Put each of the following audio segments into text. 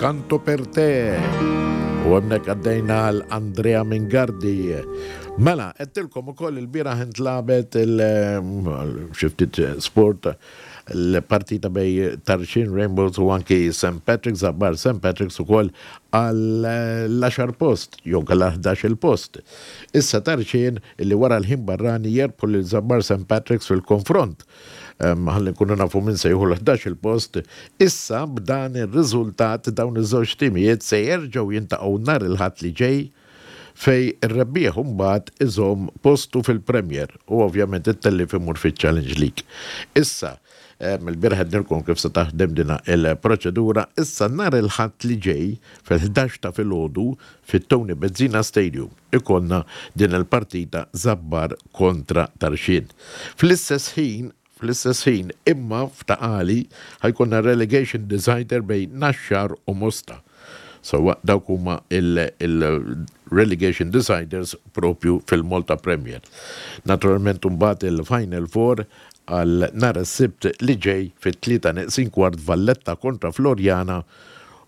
Canto per te. U hemmhekk għaddejna għal Andrea Mingardi. Mela, għedtilkom ukoll il-bieraħ intlagħbet il xi ftit sport l-partita bej Tarxien Rainbows u anki St. Patrick's, Zabbar St. Patrick's ukoll għal l-għaxar post, jew kellha 11-il post. Issa Tarxien li wara l-ħin barrani jerbħu lil Zabbar St. Patrick's fil-konfront Ħalli nkunu nafu min se jieħu l-11-il post. Issa b'dan ir-riżultat dawn iż-żewġ timijiet se jerġgħu jintaqgħu nhar il-Ħadd li ġej fejn ir-rebbieħ imbagħad iżomm postu fil-Premier u ovvjament it-tellief imur fiċ-Challenge League. Issa, il-bieraħ għednilkom kif se taħdem din il-proċedura, issa nhar il-Ħadd li ġej fil-11 ta' filgħodu fit-Tony Bezzina Stadium ikollna din il-partita Żabbar kontra Tarxien. Fl-istess ħin, fl-istess ħin, imma f'Ta' Qali ħa jkollna relegation decider bejn Naxxar u Mosta. Sewwa dawk huma il-relegation deciders propju fil-Malta Premier. Naturalment imbagħad il-Final Four għal nhar is-Sibt li ġej fit-tlieta neqsin kwart Valletta kontra Floriana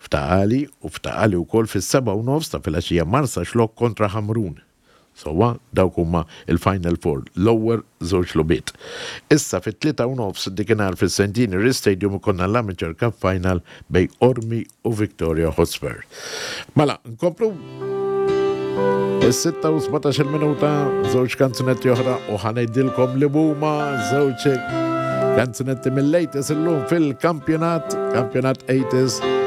F'Ta' Qali u f'Ta' Qali wkoll fis-sebgħa u nofs ta' filgħaxija Marsaxlokk kontra Ħamrun. Sewwa, dawk huma l-Final Four, l-ewwel żewġ logħbiet. Issa fit-tlieta u nofs dikinhar fis-Centenary Stadium ikollna l-Amateur Cup Final bejn Qormi u Victoria Hotspur. Mela, nkomplu? Is-sitta u 17-il minuta, żewġ kanzunetti oħra u ħa ngħidilkom li huma żewġ kanzunetti mill-80s illum fil-kampjonat, kampjonat 80s.